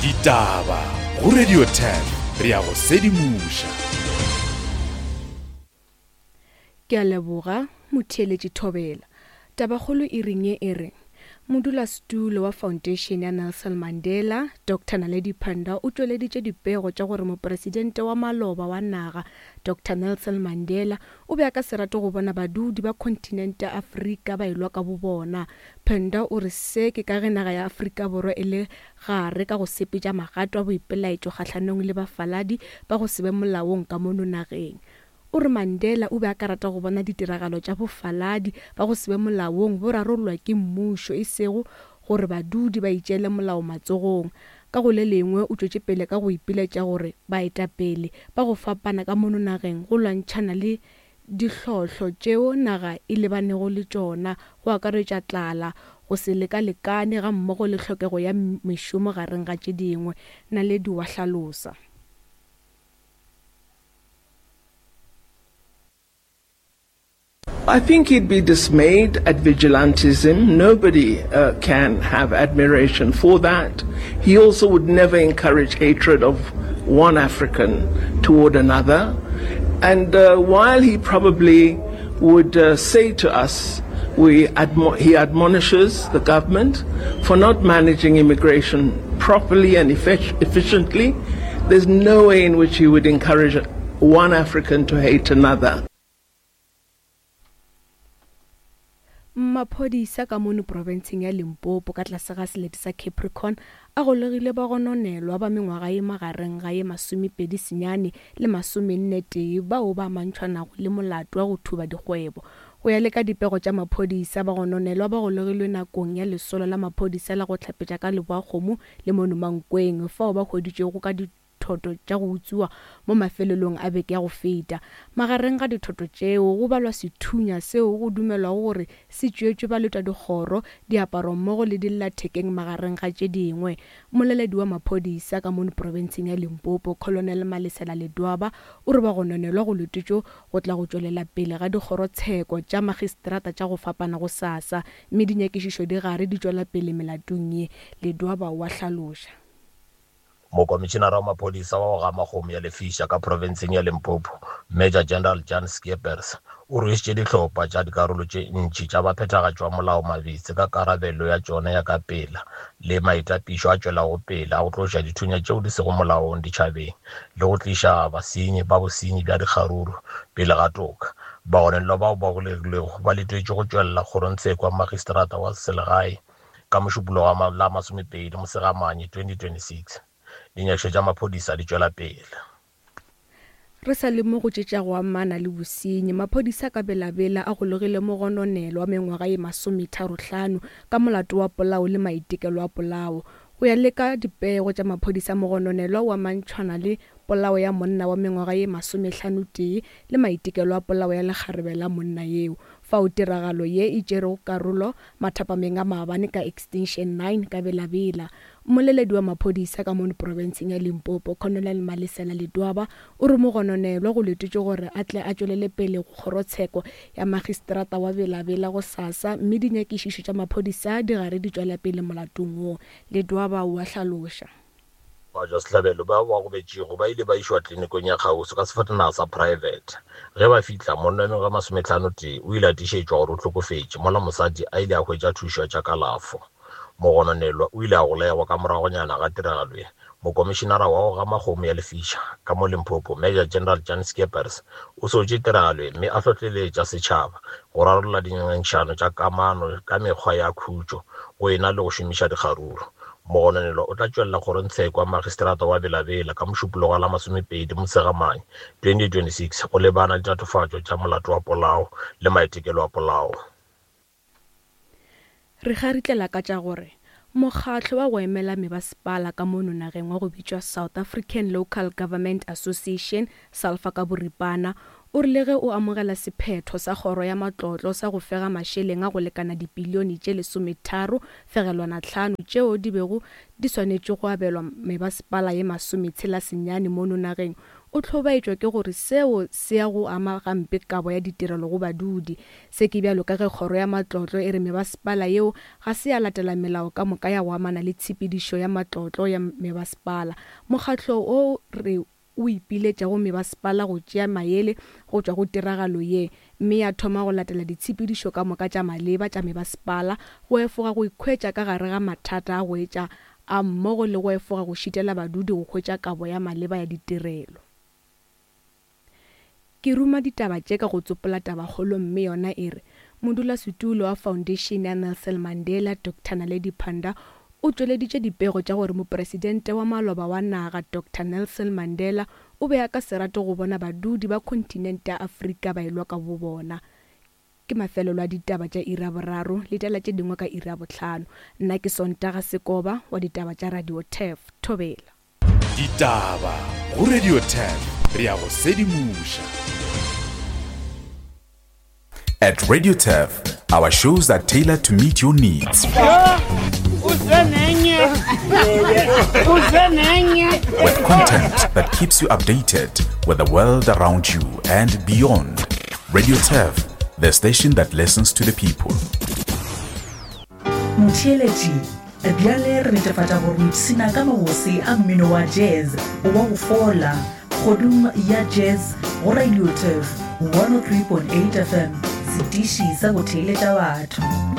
Ditaba go Radio 10 re a go sedimoša. Ke a leboga, motheeletši Thobela. Tabakgolo e reng ye e re, Modulasetulo wa Foundation ya Nelson Mandela, Doctor Naledi Pandor o tšweleditše dipego tša gore mopresidente wa maloba wa naga, Doctor Nelson Mandela, o be a ka se rate go bona badudi ba khonthinente ya Afrika ba elwa ka bobona. Pandor o re se ke ka ge naga ya Afrika Borwa e le gare ka go sepetša magato a boipelaetšo kgahlanong le bafaladi ba go se be molaong ka mono nageng. O re Mandela o be a ka rata go bona ditiragalo tša bofaladi ba go se be molaong bo rarollwa ke mmušo e sego gore badudi ba itšeele molao matsogong. Ka go le lengwe o tšwetše pele ka go ipiletša gore baetapele ba go fapana ka mono nageng go lwantšhana le dihlohlo tšeo naga e lebanego le tšona go akaretša tlala, go se lekalekane gammogo le hlokego ya mešomo gareng ga tše dingwe, Naledi wa hlalosa. I think he'd be dismayed at vigilantism. Nobody uh, can have admiration for that. He also would never encourage hatred of one African toward another. And uh, while he probably would uh, say to us, we admo- he admonishes the government for not managing immigration properly and efficiently. There's no way in which he would encourage one African to hate another. Maphodisa ka mono profenseng ya Limpopo ka tlase ga selete sa Capricorn a golegile bagononelwa ba mengwaga ye magareng ga ye 29 le 41 bao ba amantšhwanago le molato wa go thuba dikgwebo. Go ya le ka dipego tša maphodisa, bagononelwa ba golegilwe nakong ya lesolo la maphodisa la go hlapetša ka Leboakgomo le mono Mankweng fao ba hweditšwego ka dithoto tša go utswiwa mo mafelelong a beke ya go feta. Magareng ga dithoto tšeo go balwa sethunya seo go dumelwago gore se tšeetšwe baletwadikgoro, diaparo mmogo le dillathekeng magareng ga tše dingwe. Mmoleledi wa maphodisa ka mono profenseng ya Limpopo, Colonel Malesela Ledwaba o re bagononelwa go letetšwe go tla go tšwelela pele ga dikgorotsheko tša magistrata tša go fapana gosasa mme dinyakišišo di gare di tšwela pele melatong ye, Ledwaba o a hlaloša. Mokomišenara wa maphodisa wa go gama kgomo ya lefiša ka profenseng ya Limpopo, Major General Jan Scheepers, o rwešitše dihlopha tša dikarolo tše ntši tša baphethagatši ba molao mabitse ka karabelo ya tšona ya ka pela le maitapišo a tšwelago pele a go tloša dithunya tšeo di sego molaong ditšhabeng le go tliša basenyi ba bosenyi bja dikgaruru pele ga toka. Bagononelwa bao ba golegilwego ba letetšwe go tšwelela kgorongtsheko ya magistrata wa selegae ka Mošupologo wa la 20 Mosegamanye 2026. Dinyakišo tša maphodisa di tšwela pele. Re sa le mo go tše tša go amana le bosenyi, maphodisa ka Bela-Bela a golegile mogononelwa wa mengwaga ye masometharohlano ka molato wa polao le maitekelo a polao. Go ya le ka dipego tša maphodisa, mogononelwa o amantšhwana le polao ya monna wa mengwaga ye masomehlanotee le maitekelo a polao ya lekgarebe la monna yeo. Fao tiragalo ye e tšerego karolo mathapameng a maabane ka Extension 9 ka Bela-Bela. Mmoleledi wa maphodisa ka mono profenseng ya Limpopo, Colonel Malesela Ledwaba, o re mogononelwa go letetšwe gore a tle a tšwelele pele go kgorotsheko ya magistrata wa Bela-Bela gosasa mme dinyakišišo tša maphodisa di gare di tšwela pele molatong wo, Ledwaba o a hlaloša. Batšwasehlabelo bao ba gobetšego ba ile ba išwa klinikong ya kgauswi ka sefatanaga sa praebete. Ge ba fihla, monna wa mengwaga e masometlhanotee o ile a tiišetšwa gore o hlokofetše, mola mosadi a ile a hwetša thušo ya tša kalafo. Mogononelwa o ile a golegwa ka moragonyana ga tiragalo ye. Mokomišenara wa go gama kgomo ya lefiša ka mo Limpopo, Major General Jan Scheepers, o sotše tiragalo ye mme a hlohleletša setšhaba go rarolla dingangišano tša kamano ka mekgwa ya khutšo go e na le go šomiša dikgaruru. Mogononelwa o tla tšwelela kgorongtsheko ya magistrata wa Bela-Bela ka Mošupologo wa la 20 Motshegamanye 2026 go lebana le tatofatšo tša molato wa polao le maitekelo a polao. Re kgaritlela ka tša gore mokgatlo wa go emela mebasepala ka mono nageng wa go bitšwa South African Local Government Association, SALFA ka boripana, O rile ge o amogela sephetho sa kgoro ya matlotlo sa go fega mašeleng a go lekana dipilione tše lesometharo fegelwana tlhano tšeo di bego di swanetše go abelwa mebasepala ye masometshela senyane mono nageng, o hlobaetšwa ke gore seo se ya go ama gampe kabo ya ditirelo go badudi. Se ke bjalo ka ge kgoro ya matlotlo e re mebasepala yeo ga se ya latela melao ka moka ya go amana le tshepedišo ya matlotlo ya mebasepala. Mokgatlo wo re o ipiletša go mebasepala go tšea maele go tšwa go tiragalo ye mme ya thoma go latela ditshepedišo ka moka tša maleba tša mebasepala go efoga go ikhwetša ka gare ga mathata a go etša a mmogo le go efoga go šitela badudi go hwetša kabo ya maleba ya ditirelo. Ke ruma ditaba tše ka go tsopola tabakgolo mme yona e re, Modulasetulo wa Foundation ya Nelson Mandela, Doctor Naledi Pandor, o tšweleditše dipego tša gore mopresidente wa maloba wa naga, Doctor Nelson Mandela, o be a ka se rate go bona badudi ba khonthinente ya Afrika ba elwa ka bobona. Ke mafelelo a ditaba tša iri ya boraro, letela tše dingwe ka iri ya bohlano. Nna ke Sontaga Sekoba wa ditaba tša Radio Turf. Thobela. Ditaba go Radio Turf, re a go sedimoša. At Radio Turf, our shows are tailored to meet your needs. With content that keeps you updated with the world around you and beyond. Radio Turf, the station that listens to the people. Motheeletši, bjale re netefatša gore o ipshina ka mabose a mmino wa jazz wa go fola kgodung ya jazz go Radio Turf 103.8 FM, setiši sa go theeletša batho.